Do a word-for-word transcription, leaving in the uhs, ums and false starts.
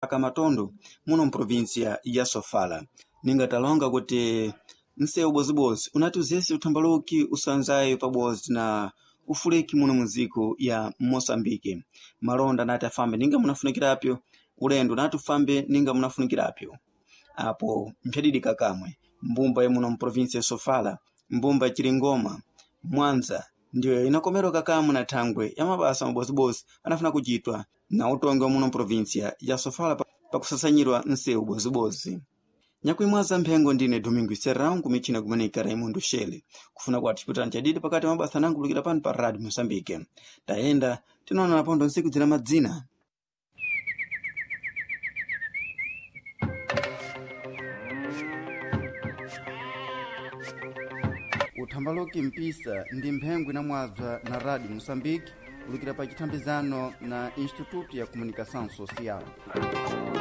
Matondo muno mprovinsia ya Sofala ningatalonga kuti nsewu bozibodzi unati uzese uthambaluki usanzayo pabodzi na ufuleki muno mundziko ya Moçambique. Malonda anati afambe ninga munafunikirapyo, ulendo unati ufambe ninga munafunikirapyo. Apo mphyadidika kamwe mbumba ya muno mprovinsia ya Sofala, mbumba ya Chiringoma, Mwanza ndiyo inakomeroka kamwe na thangwe ya mabasa mabozibodzi anafuna kuchitwa na utongi wa muno mprovinsia ya Sofala pakusasanyirwa nsewu bozibodzi. Nyakuimwaza mphengo ndine Domingo Serrão kumichina kumanika Raimundo Shele kufuna kwati ciputano chadidi pakati mabasa anango kulukira pano pa Rádio Moçambique. Tayenda tinaona napondo ntsiku zina madzina. Uthambaluki mpisa ndi mphengo inamwadzwa na Rádio Moçambique kulukira pa chithambizano na Instituto ya Comunicação Social.